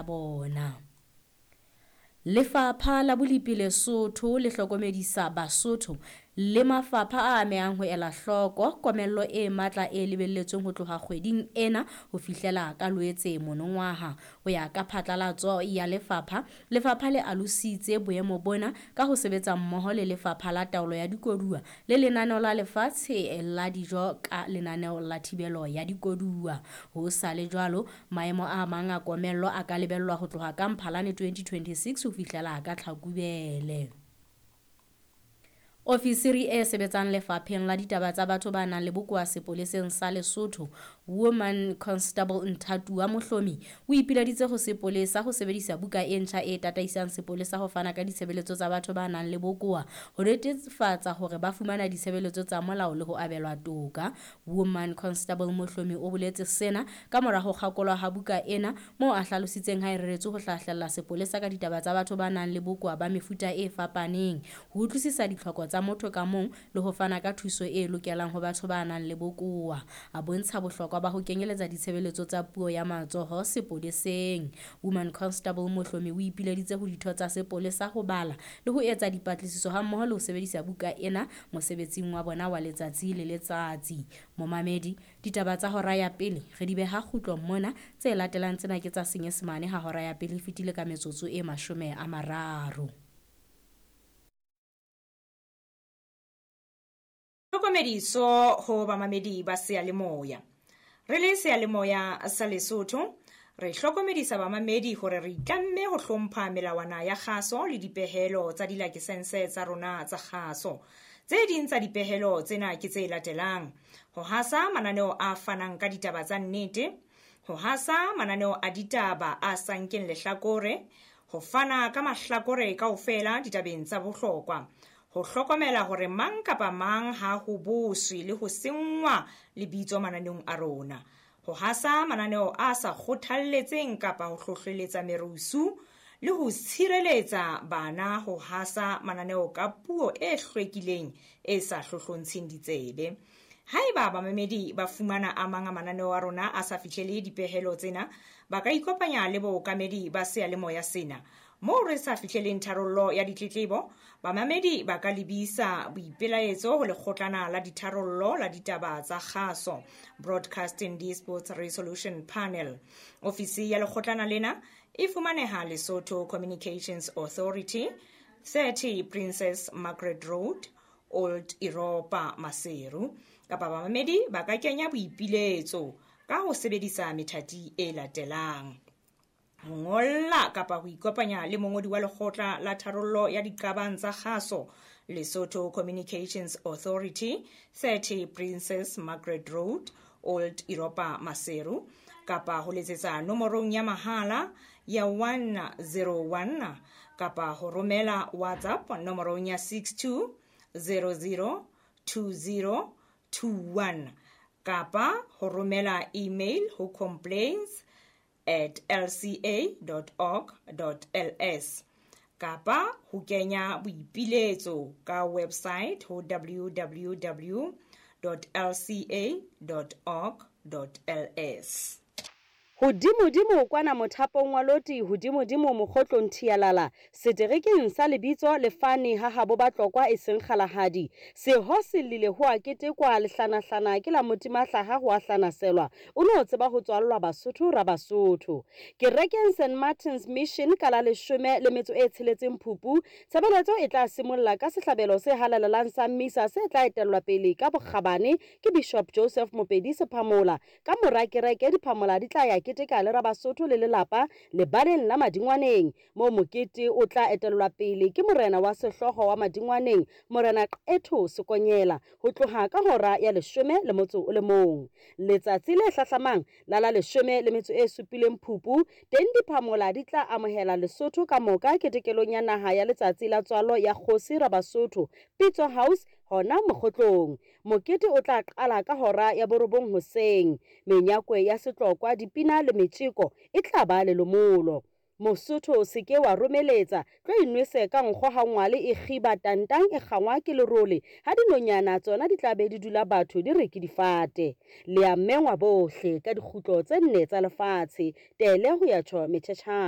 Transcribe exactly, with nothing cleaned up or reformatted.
bona. Lefapha la Bolipi Lesotho le hlokomedisa Basotho le mafapha a amehang ho ela hloko komello e matla e lebelletsweng ho tloha kgweding ena ho fihlela ka Loetse monongwaha. Ho ya ka phatlalatso ya lefapha, lefapha le alositse boemo bona ka ho sebetsa mmoho le Lefapha la Taolo ya Dikoduwa le Lenaneo la Lefatshe la Dijo ka lenaneo la thibelo ya dikoduwa. Ho sa le jwalo, maemo a mang a komello a ka lebellwa ho tloha ka Mphalane twenty twenty-six ho fihlela ka Tlhakubele. Ofisiri e sebetsang lefapheng la ditaba tsa batho ba nang le bokowa sepoleseng sa Lesotho, Woman Constable Nthatuwa Mohlomi, o ipileditse ho sepolesa ho sebedisa buka e ntjha e tataisang sepolesa ho fana ka ditshebeletso tsa batho ba nang le bokowa ho netefatsa hore ba fumana ditshebeletso tsa molao le ho abelwa toka. Woman Constable Mohlomi o boletse sena ka mora ho kgakolwa ha buka ena, moo a hlalositseng ha e reretswe ho hlahlella sepolesa ka ditaba tsa batho ba nang le bokowa ba mefuta e fapaneng, ho utlwisisa ditlhoko tsa motho ka mong le ho fana ka thuso e lokelang ho batho ba nang le bokowa. A bontsha bohlokwa ba ho kenyeletsa ditshebeletso tsa puo ya matsoho sepoleseng. Woman Constable Mohlomi o ipileditse ho ditho tsa sepolesa ho bala le ho etsa dipatlisiso hammoho le ho sebedisa buka ena mosebetsing wa bona wa letsatsi le letsatsi. Momamedi, ditaba tsa hora ya pele re di beha kgutlong mona, tse latelang tsena ke tsa Senyesemane ha hora ya pele e fetile ka metsotso e mashome a mararo. Tlhokomediso ho bamamedi ba seyalemoya. Re le seyalemoya sa Lesotho, re hlokomedisa bamamedi hore re itlamme ho hlompha melawana ya kgaso le dipehelo tsa dilakesense tsa rona tsa kgaso. Tse ding tsa dipehelo tsena ke tse latelang: ho hasa mananeo a fanang ka ditaba tsa nnete, ho hasa mananeo a ditaba a sa nkeng lehlakore, ho fana ka mahlakore kaofela ditabeng tsa bohlokwa, ho hlokomela hore mang kapa mang ha ho boswe le ho senngwa lebitso mananeong a rona, ho hasa mananeo a sa kgothalletseng kapa ho hlohleletsa merusu, le ho tshireletsa bana ho hasa mananeo ka puo e hlwekileng e sa hlohlontsheng ditsebe. Haeba bamamedi ba fumana a mang a mananeo a rona a sa fihlele dipehelo tsena, ba ka ikopanya le bookamedi ba seyalemoya sena. Moo re sa fihleleng tharollo ya ditletlebo, bamamedi ba ka lebisa boipelaetso ho lekgotlana la ditharollo la ditaba tsa kgaso, Broadcasting Disputes Resolution Panel. Ofisi ya lekgotlana lena e fumaneha Lesotho Communications Authority, thirty Princess Margaret Road, Old Europa, Maseru. Kapa bamamedi ba ka kenya boipiletso ka ho sebedisa methati e latelang: ho ngolla kapa ho ikopanya le mongodi wa lekgotla la tharollo ya diqabang tsa kgaso, Lesotho Communications Authority, thirty Princess Margaret Road, Old Europa, Maseru, kapa ho letsetsa nomorong ya mahala ya one zero one kapa ho romela WhatsApp nomorong ya six two zero zero two zero two one kapa ho romela email ho complaints at l c a dot org dot l s kapa ho kenya boipiletso ka website ho w w w dot l c a dot org dot l s. Hodimodimo kwana mothapong wa loti, hodimodimo mokgotlong thialala, seterekeng sa lebitso lefane ha habo Batlokwa e seng kgalahadi. Seho se llile ho a ketekwa lehlanahlana ke la motimahlaha ho a hlanaselwa. O no tseba ho tswallwa Basotho ra Basotho. Kerekeng Saint Martin's Mission ka la leshome le metso e tsheletseng Phupu, tshebeletso e tla simolla ka sehlabelo se halalelang sa misa se tla etellwa pele ka bokgabane ke Bishop Joseph Mopedi Sephamola. Ka mora kereke diphamola di tla ya keteka le Rabasotho le lelapa lebaleng la Madingwaneng, moo mokete o tla etellwa pele ke morena wa sehlooho wa Madingwaneng, Morena Qetho Sekonyela, ho tloha ka hora ya leshome le motso o le mong. Letsatsi le hlahlamang la la leshome le metso e supileng Phupu, teng diphamola di tla amohela Lesotho ka moka ketekelong ya naha ya letsatsi la tswalo ya kgosi Rabasotho, Pitso House hona mokgotlong. Mokete o tla qala ka hora ya borobong hoseng. Menyakwe ya setlokwa, dipina le metjeko e tla ba lelomolo. Mosotho se ke wa romeletsa, tlo inwese ka nkgo ha ngwale e kgiba tantang e kgangwa ke lerole, ha dinonyana tsona di tla be di dula batho di re ke difate. Le a mengwa bohle ka dikgutlo tse nne tsa lefatshe, tele ho ya tjho metjhetjhane.